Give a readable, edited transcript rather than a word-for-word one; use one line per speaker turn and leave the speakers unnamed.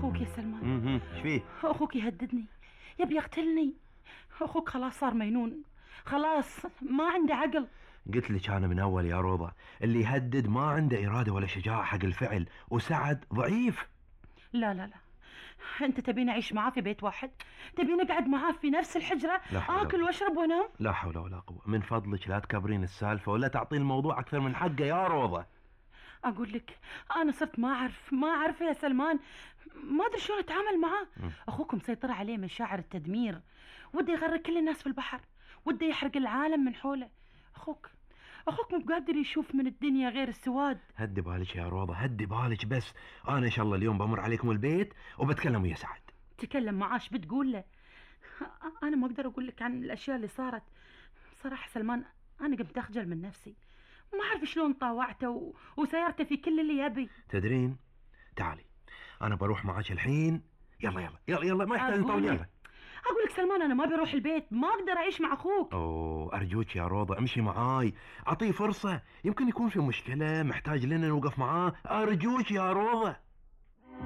اخوك يا سلمان.
ايش فيه؟
اخوك يهددني، يبي يقتلني. اخوك خلاص صار مجنون، خلاص ما عنده عقل.
قلت لك انا من اول يا روضة، اللي يهدد ما عنده ارادة ولا شجاعة حق الفعل، وسعد ضعيف.
لا لا لا، انت تبيني اعيش معاه في بيت واحد؟ تبيني اقعد معاه في نفس الحجرة اكل واشرب وانام؟
لا حول ولا قوة. من فضلك لا تكبرين السالفة ولا تعطين الموضوع اكثر من حقه يا روضة.
اقول لك انا صرت ما اعرف يا سلمان، ما ادري شلون اتعامل معاه. اخوك مسيطر عليه مشاعر التدمير، وده يغرق كل الناس في البحر، وده يحرق العالم من حوله. اخوك مو قادر يشوف من الدنيا غير السواد.
هدي بالك يا روضة، هدي بالك بس. انا ان شاء الله اليوم بمر عليكم البيت وبتكلم ويا سعد.
تكلم معاش بتقول له؟ انا ما اقدر اقول لك عن الاشياء اللي صارت صراحة سلمان. انا قمت اخجل من نفسي، ما اعرف شلون طاوعته وسيرته في كل اللي يبي.
تدرين، تعالي انا بروح معاك الحين. يلا يلا يلا يلا، ما يحتاج نطول. يلا
اقول لك سلمان، انا ما بروح البيت، ما اقدر اعيش مع اخوك.
اوه ارجوك يا روضة امشي معاي، اعطيه فرصة، يمكن يكون في مشكلة محتاج لنا نوقف معاه. ارجوك يا روضة.